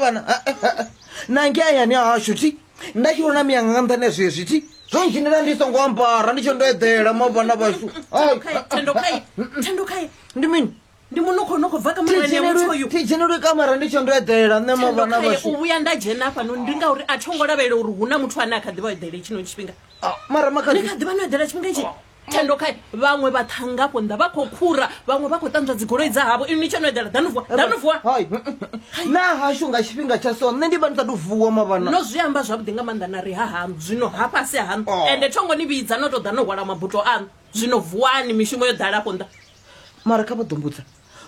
Vhana na ngei hayani hashu thi nda tshi vhona miyanga nga nṱhani ha zwezwi thi zwo ndzhenela ndi songo ambara ndi tsho ndo eḓela mavhana vhashu. Ai, Thendo khae, Thendo khae. Ndi mini? Ndi munukho no khou bva kamarani ya muthu uyu. Thi dzhenelwe kamara ndi tsho ndo eḓela nṋe mavhana Khae vhashu. U vhuya nda dzhena hafhano ndi ngauri a tho ngo lavhelela uri hu na muthu ane a kha ḓi vha o eḓela tshino tshifhinga. Ah, mara Ni makhadzi kha ḓi vha no eḓela tshifhinga itshi? Thendo khae, vhaṅwe vhaṱhannga afho nnḓa vha khou khura, vhaṅwe vha khou ṱanzwa dzigoloi dza havho, inwi ni tshe no eḓela. Ḓanu vuwa, ḓanu vuwa. Hai, na hashu nga tshifhinga tsha so nṋe ndi vha ndi sa tou vuwa mavhana. No zwi amba zwavhuḓi nga maanḓa na ri ha haṋu, zwino hafha a si haṋu. Oh. Ende tho ngo ni vhidza no tou ḓa no hwala mabuto aṋu. Zwino vuwani, mishumo yo ḓala afho nnḓa. Mara kha vha ḓo mbudza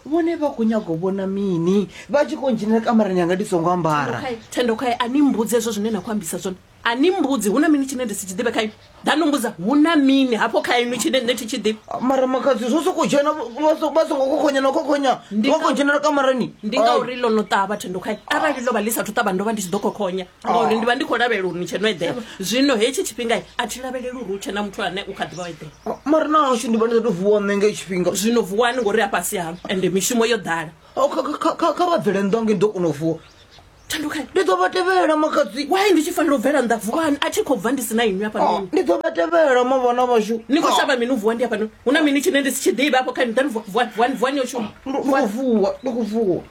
vhone vha khou nyaga u vhona mini vha tshi khou ndzhenela kamarani yanga ndi songo ambara? Thendo khae, a ni mbudzi hezwo zwine na khou ambisa zwone. A ni mbudzi hu na mini tshine ndi si tshi ḓivhe kha inwi? Ḓa no mbudza hu na mini hafho kha inwi tshine nṋe thi tshi ḓivhi? Mara makhadzi zwo sokou dzhena vha songo khokhonya na khokhonya vha khou dzhenela kamarani. Ndi ngauri ḽo no ṱavha Thendo khae. Arali ḽo vha ḽi sathu ṱavha ndo vha ndi tshi ḓo khokhonya ngauri ndi vha ndi khou lavhelela uri ni tshe no eḓela. Zwino hetshi tshifhinga a thi lavheleli uri hu tshe na muthu ane u kha ḓi vha o eḓela. Mara na hashu ndi vha ndi sa tou vuwa nṋe nga tshifhinga. Zwino vuwani ngori a fhasi haṋu ende mishumo yo ḓala. Kha vha bvele nnḓa nge ndi ḓo kona u vuwa. Thando khae. Ndi ḓo vha tevhela makhadzi. Why ndi tshi fanela u bvela nnḓa? Vuwani, a thi khou bva ndi si na inwi hafhanoni. Ndi ḓo vha tevhela mavhana vhashu. Ni khou shavha mini u vuwa ndi hafhanoni? Hu na mini tshine ndi si tshi ḓivhe afho kha inwi? Ḓani vuwa, vuwani, vuwani, vuwani yo shuma. Ndi khou vuwa, ndi khou vuwa.